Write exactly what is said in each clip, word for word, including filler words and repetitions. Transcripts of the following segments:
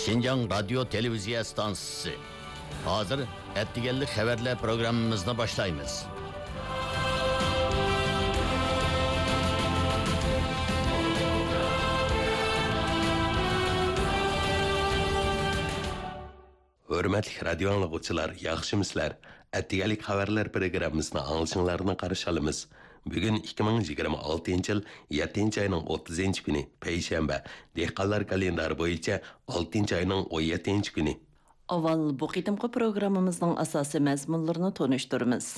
شىنجاڭ رادىيو تېلېۋىزىيە ئىستانسىسى. ھازىر ئەتىگەنلىك خەۋەرلەر پروگراممىمىزنى باشلايمىز. ھۆرمەتلىك رادىيو ئاڭلىغۇچىلار، ياخشىمۇسىلەر؟ ئەتىگەنلىك خەۋەرلەر پروگراممىسىنى ئاڭلىشىڭلارنى قارشى ئالىمىز. بۈگۈن ئىككى مىڭ يىگىرمە ئالتىنچى يىل يەتتىنچى ئاينىڭ ئوتتۇزىنچى كۈنى، پەيشەنبە، دېھقانلار كالېندارى بويىچە ئالتىنچى ئاينىڭ ئون يەتتىنچى كۈنى. ئاۋۋال بۇ قېتىمقى پروگراممىمىزنىڭ ئاساسىي مەزمۇنلىرىنى تونۇشتۇرىمىز.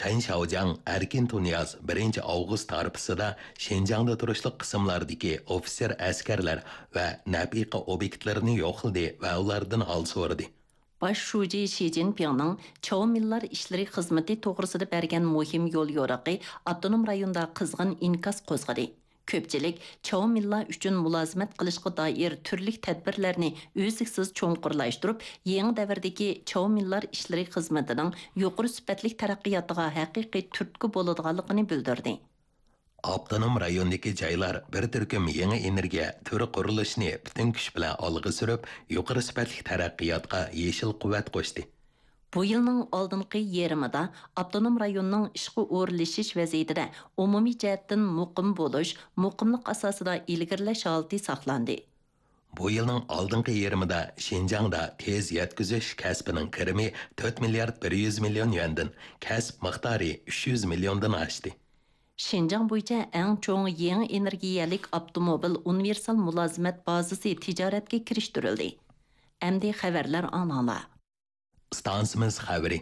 چەن شياۋجياڭ ئەركىن تۇنىياز بىرىنچى ئاۋغۇست ھارپىسىدا شىنجاڭدا تۇرۇشلۇق قىسىملاردىكى ئوفىتسېر ئەسكەرلەر ۋە نەپىقە ئوبيېكتلىرىنى يوقلىدى ۋە ئۇلاردىن ھال سورىدى. باش شۇجى شى جىنپىڭنىڭ چاۋمىنلار ئىشلىرى خىزمىتى توغرىسىدا بەرگەن مۇھىم يوليورۇقى ئاپتونوم رايوندا قىزغىن ئىنكاس قوزغىدى. كۆپچىلىك چاۋمىنلار ئۈچۈن مۇلازىمەت قىلىشقا دائىر تۈرلۈك تەدبىرلەرنى ئۈزلۈكسىز چوڭقۇرلاشتۇرۇپ، يېڭى دەۋردىكى چاۋمىنلار ئىشلىرى خىزمىتىنىڭ يۇقىرى سۈپەتلىك تەرەققىياتىغا ھەقىقىي تۈرتكە بولىدىغانلىقىنى بىلدۈردى. ئاپتونوم رايوندىكى جايلار بىر تۈركۈم يېڭى ئېنېرگىيە تۈرى قۇرۇلۇشىنى پۈتۈن كۈچ بىلەن ئالغا سۈرۈپ، يۇقىرى سۈپەتلىك تەرەققىياتقا يېشىل قۇۋۋەت قوشتى. بۇ يىلنىڭ ئالدىنقى يېرىمىدا ئاپتونوم رايوننىڭ ئىشقا ئورۇنلىشىش ۋەزىيىتىدە ئومۇمىي جەھەتتىن مۇقىم بولۇش، مۇقىملىق ئاساسىدا ئىلگىرىلەش ھالىتى ساقلاندى. بۇ يىلنىڭ ئالدىنقى يېرىمىدا شىنجاڭدا تېز يەتكۈزۈش كەسپىنىڭ كىرىمى تۆت مىليارد بىر يۈز مىليون يۈەندىن، كەسىپ مىقدارى ئۈچ يۈز مىليوندىن ئاشتى. شىنجاڭ بويىچە ئەڭ چوڭ يېڭى ئېنېرگىيەلىك ئاپتوموبىل ئۇنىۋېرسال مۇلازىمەت بازىسى تىجارەتكە كىرىشتۈرۈلدى. ئەمدى خەۋەرلەر ئاڭلاڭلار. ئىستانسىمىز خەۋىرى.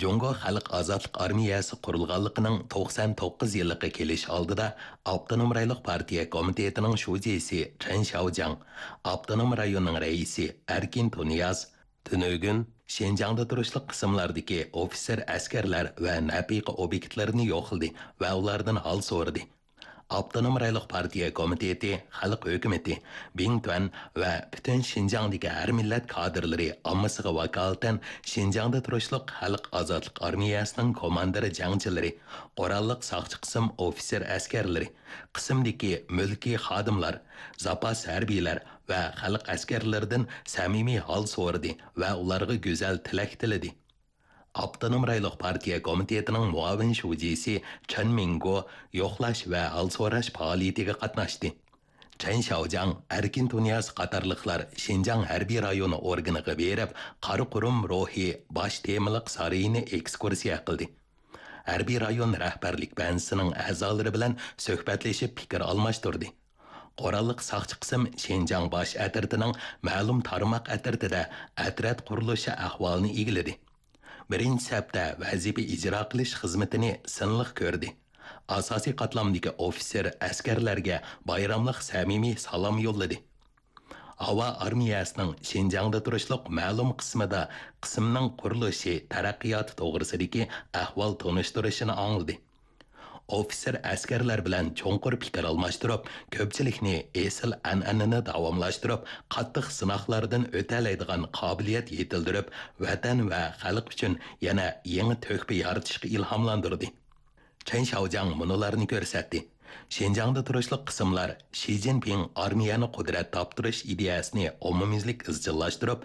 جۇڭگو خەلق ئازادلىق ئارمىيەسى قۇرۇلغانلىقىنىڭ توقسان توققۇز يىللىقى كېلىش ئالدىدا، ئاپتونوم رايونلۇق پارتىيە كومىتېتىنىڭ شۇجىسى چېن شياۋجياڭ، ئاپتونوم رايوننىڭ رەئىسى ئەركىن تۇنىياز، تۈنۈگۈن شىنجاڭدا تۇرۇشلۇق قىسىملاردىكى ئوفىتسېر ئەسكەرلەر ۋە نەپىقە ئوبيېكتلىرىنى يوقلىدى ۋە ئۇلاردىن ھال سورىدى. ئاپتونوم رايونلۇق پارتىيە كومىتېتى، خەلق ھۆكۈمىتى، بىڭتۈەن ۋە پۈتۈن شىنجاڭدىكى ھەر مىللەت كادىرلىرى ئاممىسىغا ۋاكالىتەن شىنجاڭدا تۇرۇشلۇق خەلق ئازادلىق ئارمىيەسىنىڭ كوماندىر جەڭچىلىرى، قوراللىق ساقچى قىسىم ئوفىتسېر ئەسكەرلىرى، قىسىمدىكى مۈلكىي خادىملار، زاپاس ھەربىيلەر ۋە خەلق ئەسكەرلىرىدىن سەمىمىي ھال سورىدى ۋە ئۇلارغا گۈزەل تىلەك تىلىدى. ئاپتونوم رايونلۇق پارتىيە كومىتېتىنىڭ مۇئاۋىن شۇجىسى چېن مىڭگو يوقلاش ۋە ھال سوراش پائالىيىتىگە قاتناشتى. چېن شياۋجياڭ، ئەركىن تۇنىياز قاتارلىقلار شىنجاڭ ھەربىي رايونى ئورگىنىغا بېرىپ، قارا قۇرۇم روھى باش تېمىلىق سارىيىنى ئېكسكۇرسىيە قىلدى. ھەربىي رايون رەھبەرلىك بەنزىسىنىڭ ئەزالىرى بىلەن سۆھبەتلىشىپ پىكىر ئالماشتۇردى. قوراللىق ساقچى قىسىم شىنجاڭ باش ئەترىتىنىڭ مەلۇم تارماق ئەترىتىدە ئەترەت قۇرۇلۇشى ئەھۋالىنى ئىگىلىدى. بىرىنچى سەپتە ۋەزىپە ئىجرا قىلىش خىزمىتىنى سىنلىق كۆردى. ئاساسىي قاتلامدىكى ئوفىتسېر ئەسكەرلەرگە بايراملىق سەمىمىي سالام يوللىدى. ھاۋا ئارمىيەسىنىڭ شىنجاڭدا تۇرۇشلۇق مەلۇم قىسمىدا قىسىمنىڭ قۇرۇلۇشى، تەرەققىياتى توغرىسىدىكى ئەھۋال تونۇشتۇرۇشىنى ئاڭلىدى. ئوفىتسېر ئەسكەرلەر بىلەن چوڭقۇر پىكىر ئالماشتۇرۇپ، كۆپچىلىكنى ئېسىل ئەنئەنىنى داۋاملاشتۇرۇپ، قاتتىق سىناقلاردىن ئۆتەلەيدىغان قابىلىيەت يېتىلدۈرۈپ، ۋەتەن ۋە خەلق ئۈچۈن يەنە يېڭى تۆھپە يارىتىشقا ئىلھاملاندۇردى. چېن شياۋجياڭ مۇنۇلارنى كۆرسەتتى. شىنجاڭدا تۇرۇشلۇق قىسىملار شى جىنپىڭ ئارمىيەنى قۇدرەت تاپتۇرۇش ئىدىيەسىنى ئومۇميۈزلۈك ئىزچىللاشتۇرۇپ،